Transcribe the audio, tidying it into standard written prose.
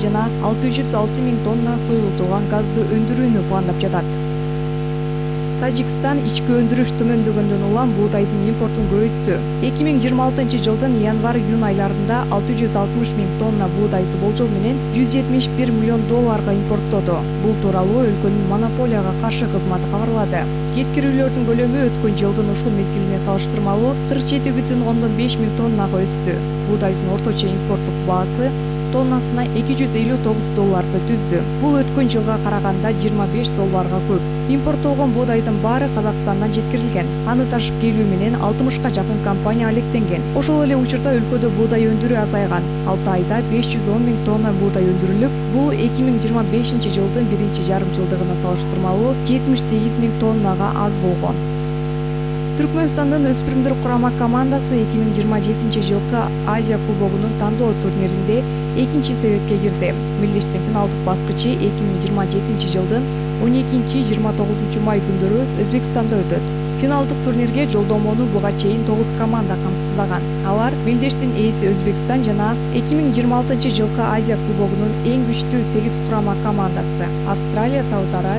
жана 606 000 тонна суюлтулган газды өндүрүүнү пландап жатат. Тажикстан ички өндүрүш төмөндөгөндөн улам буудайдын импортун көбөйттү. 2026 жылдын январь-июнь айларында 660 000 тонна буудайды болжол менен $171 миллион импорттоду. Бул тууралуу өлкөнүн монополияга каршы кызматы кабарлады. Жеткирүүлөрдүн көлөмү өткөн жылдын ушул мезгилине салыштырмалуу 47,5 миң тоннага өстү. Буудайдын орточо импорттук баасы тоннасына $259 түздү. Бул өткөн жылга караганда $25 көп. Импорттолгон буудайдын баары Казакстандан жеткирилген. Аны ташып келүү менен 60га жакын компания алектенген. Ошол эле учурда өлкөдө буудай өндүрүү азайган. 6 айда 510 000 тонна буудай өндүрүлүп, бул 2025 жылдын биринчи жарым жылдыгына салыштырмалуу 78 000 тоннага аз болгон. Түркмөнстандын өспүрүмдөр курама командасы 2027 жылкы Азия кубогунун тандоо турниринде экинчи себетке кирди. Мелдештин финалдык баскычы 2027 жылдын 12-29 май күндөрү Өзбекстанда өтөт. Финалдык турнирге жолдомону буга чейин 9 команда камсыздаган. Алар Мелдештин ээси Өзбекстан жана 2026 жылкы Азия кубогунун эң күчтүү 8 курама командасы: Австралия, Сауд Арабия,